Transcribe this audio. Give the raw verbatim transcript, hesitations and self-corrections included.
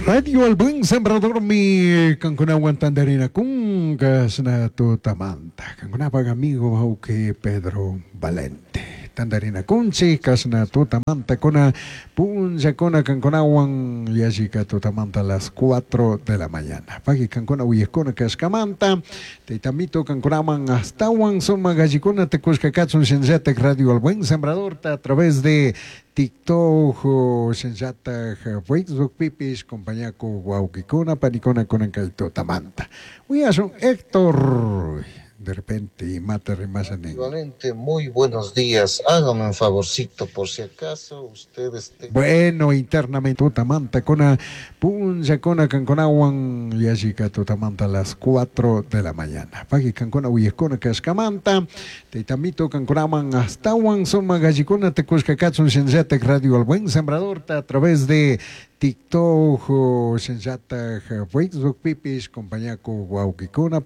Radio El Buen Sembrador mi kankunawan tantarinakun kashna tutamanta. Kankunapak amigo wawqi Pedro Valente. Tantarinakunchik kashna tutamanta kuna punllakuna kankunawan yallika tutamanta las cuatro de la mañana. Paqui kankuna uyakuna kashkamanta taytamito kankunaman astawan sumak allikunata kushka kachun shinallatak Radio El Buen Sembradorta a través de TikTok shinallatak Facebook pipish compañaku wawqikuna panikuna kunan kay tutamanta. Uyashun Héctor de repente imata rimasha nin. Valente, muy buenos días. Hágame un favorcito, por si acaso ustedes tengan Bueno, internamente tutamanta kuna punllakuna kankunawan yallika tutamanta las cuatro de la mañana. Paqui kankuna uyakuna kashkamanta taytamito kankunaman astawan sumak allikunata kushka kachun shinallatak Radio El Buen Sembradorta a través de TikTok shinallatak Facebook pipish compañaku wawqikuna.